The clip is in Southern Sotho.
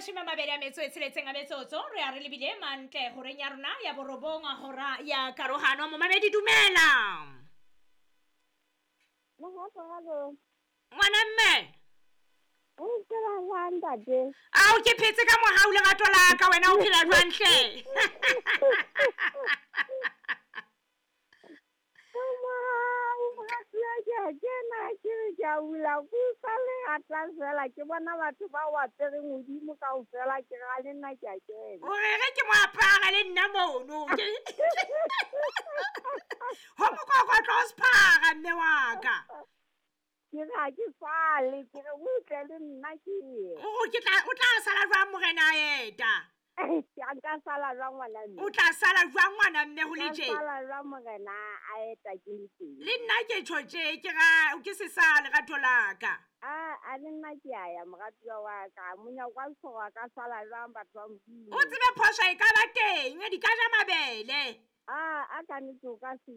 26 a metsotso re a re lebile mantle horeng ya rona ya borobong, hora ya karohano. Momamedi, dumela. Ngwana mme. Ao, ke phetse ka mohau, lerato la ka. Wena o phela jwang hle? Ke a bula kusa le ata fela, ke bona batho ba o apereng hodimo kaofela, ke ra le nna ke a kena. O re re ke mo apara le nna mono. Ho mokokotlo o sephara, mme wa ka. Ke re ha ke sale, ke re o tle le nna ke ye. O tla sala jwang morena a eta? Nka sala jwang, ngwana mme? O tla sala jwang, ngwana mme, ho le Nka tje? sala jwang morena a eta ke le teng? Le nna ke tjho tje, ke ra ke se sa lerato la ka. A le nna ke a ya, moratuwa wa ka. Monyako wa seforo a ka sala jwang, batho ba Modimo? O tsebe phoso e ka ba teng, di ka ja mabele. A ka nnete o ka se.